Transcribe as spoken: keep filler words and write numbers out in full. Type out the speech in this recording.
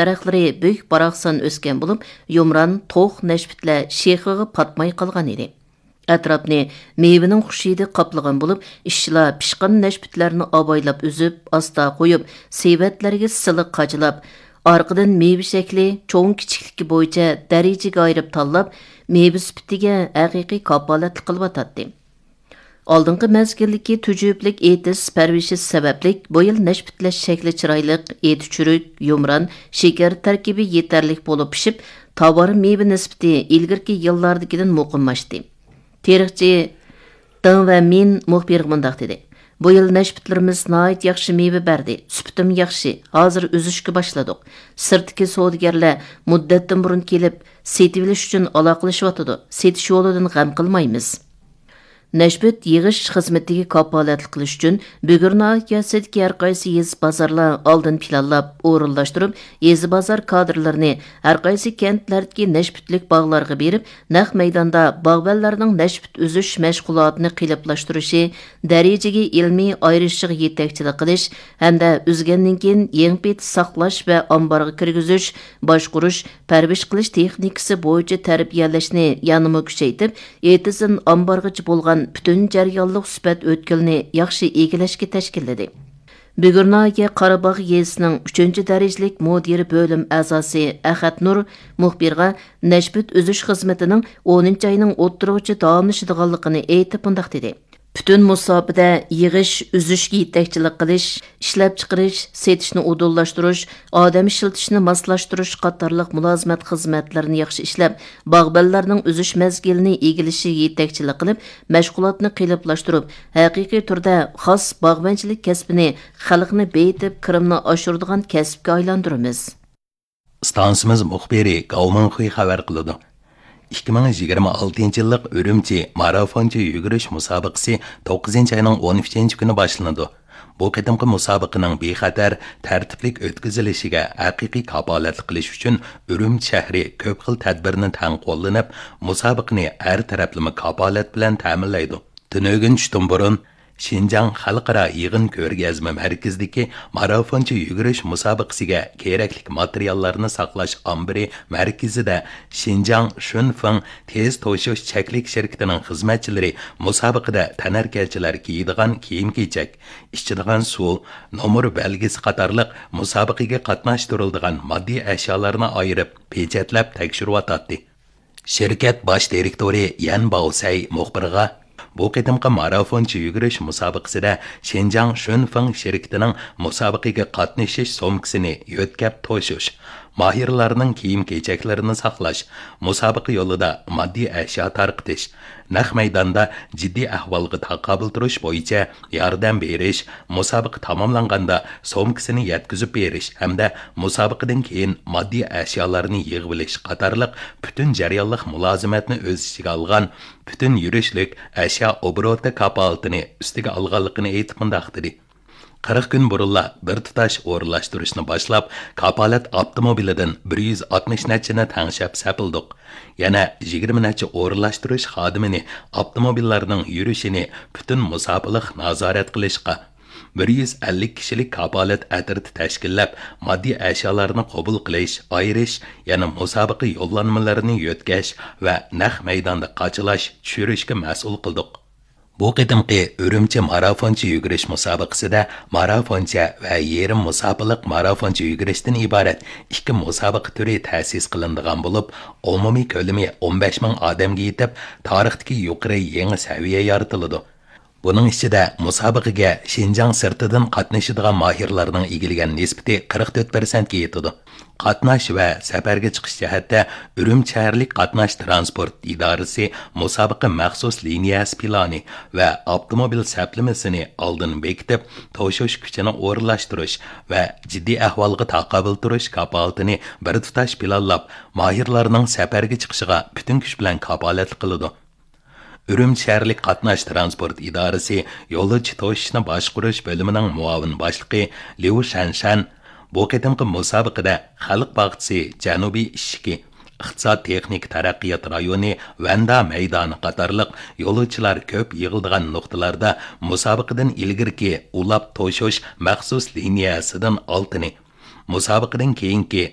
دەرەخلىرى بۈك-باراقسان ئۆسكەن بولۇپ، يۇمران، توخ نەشپۈتلەر شېخىغا پاتماي قالغان ئىدى. ئەتراپنى مېۋىنىڭ خۇش ھىدى قاپلىغان بولۇپ، ئىشچىلار پىشقان نەشپۈتلەرنى ئاۋايلاپ ئۈزۈپ، ئاستا قويۇپ، سېۋەتلەرگە سىلىق قاچىلاپ، ئارقىدىن مېۋە شەكلى، چوڭ-كىچىكلىكى بويىچە دەرىجىگە ئايرىپ تاللاپ، مېۋە سۈپىتىگە ھەقىقىي كاپالەتلىك قىلىۋاتاتتى. ئالدىنقى مەزگىلدىكى تۈجۈپىلىك ئېتىز پەرۋىشى سەۋەبلىك، بۇ يىل نەشپۈتلەر شەكلى چىرايلىق، ئېتى چۈرۈك، يۇمران، شېكەر تەركىبى يېتەرلىك بولۇپ پىشىپ، تاۋار مېۋە نىسبىتى ئىلگىرىكى يىللاردىكىدىن مۇقىملاشتى. تېرىقچى دېڭ ۋەمىن مۇخبىرغا مۇنداق دېدى: «بۇ يىل نەشپۈتلىرىمىز ناھايىتى ياخشى مېۋە بەردى، سۈپىتىمۇ ياخشى، ھازىر ئۈزۈشكە باشلىدۇق. سىرتتىكى سودىگەرلەر مۇددەتتىن بۇرۇن كېلىپ، سېتىۋېلىش ئۈچۈن ئالاقىلىشىۋاتىدۇ، سېتىش يولىدىن غەم قىلمايمىز.» نەشپۈت يىغىش خىزمىتىگە كاپالەتلىك قىلىش ئۈچۈن، بۈگۈر ناھىيەسىدىكى ھەر قايسى يېزا بازارلار ئالدىن پىلانلاپ، ئورۇنلاشتۇرۇپ، يېزا بازار كادىرلىرىنى ھەر قايسى كەنتلەردىكى نەشپۈتلۈك باغلارغا بېرىپ، نەق مەيداندا باغۋەنلەرنىڭ نەشپۈت ئۈزۈش مەشغۇلاتىنى قېلىپلاشتۇرۇشى، دەرىجىگە ئىلمىي ئايرىشىشىغا يېتەكچىلىك قىلىش ھەمدە ئۈزگەندىن كېيىن يېڭى پېتى ساقلاش ۋە ئامبارغا كىرگۈزۈش، باشقۇرۇش، پەرۋىش قىلىش تېخنىكىسى بويىچە تەربىيەلەشنى يەنىمۇ كۈچەيتىپ، ئېتىزدىن ئامبارغىچە بولغان پۈتۈن جەريانلىق سۈپەت ئۆتكىلىنى ياخشى ئىگىلەشكە تەشكىللىدى. بۈگۈر ناھىيە قاراباغ يېزىسىنىڭ ئۈچىنچى دەرىجىلىك مۇدىر بۆلۈم ئەزاسى ئەخەت نۇر مۇخبىرغا نەشپۈت ئۈزۈش خىزمىتىنىڭ ئونىنچى ئاينىڭ ئوتتۇرىغىچە داۋاملىشىدىغانلىقىنى ئېيتىپ مۇنداق دېدى: «پۈتۈن مۇساپىدە يىغىش، ئۈزۈشكە يېتەكچىلىك قىلىش، ئىشلەپچىقىرىش، سېتىشنى ئۇدۇللاشتۇرۇش، ئادەم ئىشلىتىشنى ماسلاشتۇرۇش قاتارلىق مۇلازىمەت خىزمەتلىرىنى ياخشى ئىشلەپ، باغۋەنلەرنىڭ ئۈزۈش مەزگىلىنى ئىگىلىشىگە يېتەكچىلىك قىلىپ، مەشغۇلاتنى قېلىپلاشتۇرۇپ، ھەقىقىي تۈردە خاس باغۋەنچىلىك كەسپىنى خەلقنى بېيىتىپ، كىرىمنى ئاشۇرىدىغان كەسىپكە ئايلاندۇرىمىز.» ئىستانسىمىز مۇخبىرى گاۋ مىڭخۇي خەۋەر قىلىدۇ. ئىككى مىڭ يىگىرمە ئالتىنچى يىللىق ئۈرۈمچى مارافونچە يۈگۈرۈش مۇسابىقىسى توققۇزىنچى ئاينىڭ ئون ئۈچىنچى كۈنى باشلىنىدۇ. بۇ قېتىمقى مۇسابىقىنىڭ بىخەتەر، تەرتىپلىك ئۆتكۈزۈلۈشىگە ھەقىقىي كاپالەتلىك قىلىش ئۈچۈن ئۈرۈمچى شەھىرى كۆپ خىل تەدبىرنى تەڭ قوللىنىپ، مۇسابىقىنى ھەر تەرەپلىمە كاپالەت بىلەن تەمىنلەيدۇ. تۈنۈگۈن چۈشتىن بۇرۇن، شىنجاڭ خەلقئارا يىغىن كۆرگەزمە مەركىزىدىكى مارافونچە يۈگۈرۈش مۇسابىقىسىگە كېرەكلىك ماتېرىياللارنى ساقلاش ئامبىرى مەركىزىدە شىنجاڭ شۈنفېڭ تېز توشۇش چەكلىك شىركىتىنىڭ خىزمەتچىلىرى مۇسابىقىدە تەنھەرىكەتچىلەر كىيىدىغان كىيىم-كېچەك، ئىچىدىغان سۇ، نومۇر بەلگىسى قاتارلىق مۇسابىقىگە قاتناشتۇرۇلىدىغان ماددىي ئەشيالارنى ئايرىپ، پېچەتلەپ تەكشۈرۈۋاتاتتى. شىركەت باش دىرېكتورى يەن باۋسەي مۇخبىرغا، بۇ قېتىمقى مارافونچە يۈگۈرۈش مۇسابىقىسىدە شىنجاڭ شۈنفېڭ شىركىتىنىڭ مۇسابىقىگە قاتنىشىش سومكىسىنى يۆتكەپ توشۇش، ماھىرلارنىڭ كىيىم-كېچەكلىرىنى ساقلاش، مۇسابىقە يولىدا ماددىي ئەشيا تارقىتىش، نەق مەيداندا جىددىي ئەھۋالغا تاقابىل تۇرۇش بويىچە ياردەم بېرىش، مۇسابىقە تاماملانغاندا سومكىسىنى يەتكۈزۈپ بېرىش ھەمدە مۇسابىقىدىن كېيىن ماددىي ئەشيالارنى يىغىۋېلىش قاتارلىق پۈتۈن جەريانلىق مۇلازىمەتنى ئۆز ئىچىگە ئالغان پۈتۈن يۈرۈشلۈك ئەشيا ئوبوروتى كاپالىتىنى ئۈستىگە ئالغانلىقىنى ئېيتىپ مۇنداق دېدى: «قىرىق كۈن بۇرۇنلا بىر تۇتاش ئورۇنلاشتۇرۇشنى باشلاپ، كاپالەت ئاپتوموبىلىدىن بىر يۈز ئاتمىش نەچچىنى تەڭشەپ سېپىلدۇق. يەنە يىگىرمە نەچچە ئورۇنلاشتۇرۇش خادىمىنى ئاپتوموبىللارنىڭ يۈرۈشىنى پۈتۈن مۇساپىلىق نازارەت قىلىشقا، بىر يۈز ئەللىك كىشىلىك كاپالەت ئەترىتى تەشكىللەپ، ماددىي ئەشيالارنى قوبۇل قىلىش، ئايرىش، يەنە مۇسابىقە يوللانمىلىرىنى يۆتكەش ۋە نەق مەيداندا قاچىلاش، چۈشۈرۈشكە مەسئۇل قىلدۇق.» بۇ قېتىمقى ئۈرۈمچى مارافونچە يۈگۈرۈش مۇسابىقىسىدە مارافونچە ۋە يېرىم مۇساپىلىق مارافونچە يۈگۈرۈشتىن ئىبارەت ئىككى مۇسابىقە تۈرى تەسىس قىلىنىدىغان بولۇپ، ئومۇمىي كۆلىمى ئون بەش مىڭ ئادەمگە يېتىپ، تارىختىكى يۇقىرى يېڭى سەۋىيە يارىتىلىدۇ. بۇنىڭ ئىچىدە مۇسابىقىگە شىنجاڭ سىرتىدىن قاتنىشىدىغان ماھىرلارنىڭ ئىگىلىگەن نىسبىتى قىرىق تۆت پىرسەنتكە يېتىدۇ. قاتناش ۋە سەپەرگە چىقىش جەھەتتە ئۈرۈمچى شەھەرلىك قاتناش تىرانسپورت ئىدارىسى مۇسابىقە مەخسۇس لىنىيەسى پىلانى ۋە ئاپتوموبىل سەپلىمىسىنى ئالدىن بېكىتىپ، توشۇش كۈچىنى ئورۇنلاشتۇرۇش ۋە جىددىي ئەھۋالغا تاقابىل تۇرۇش كاپالىتىنى بىر تۇتاش پىلانلاپ، ماھىرلارنىڭ سەپەرگە چىقىشىغا پۈتۈن كۈچ بىلەن كاپالەتلىك قىلىدۇ. ئۈرۈمچى شەھەرلىك قاتناش تىرانسپورت ئىدارىسى يولۇچى توشۇشنى باشقۇرۇش بۆلۈمىنىڭ مۇئاۋىن باشلىقى ليۇ شەنشەن بۇ قېتىمقى مۇسابىقىدە خەلق باغچىسى جەنۇبىي ئىشىكى، ئىقتىساد تېخنىكا تەرەققىيات رايونى ۋەندا مەيدانى قاتارلىق يولۇچىلار كۆپ يىغىلىدىغان نۇقتىلاردا مۇسابىقىدىن ئىلگىرىكى ئۇلاپ توشۇش مەخسۇس لىنىيەسىدىن ئالتىنى، مۇسابىقىدىن كېيىنكى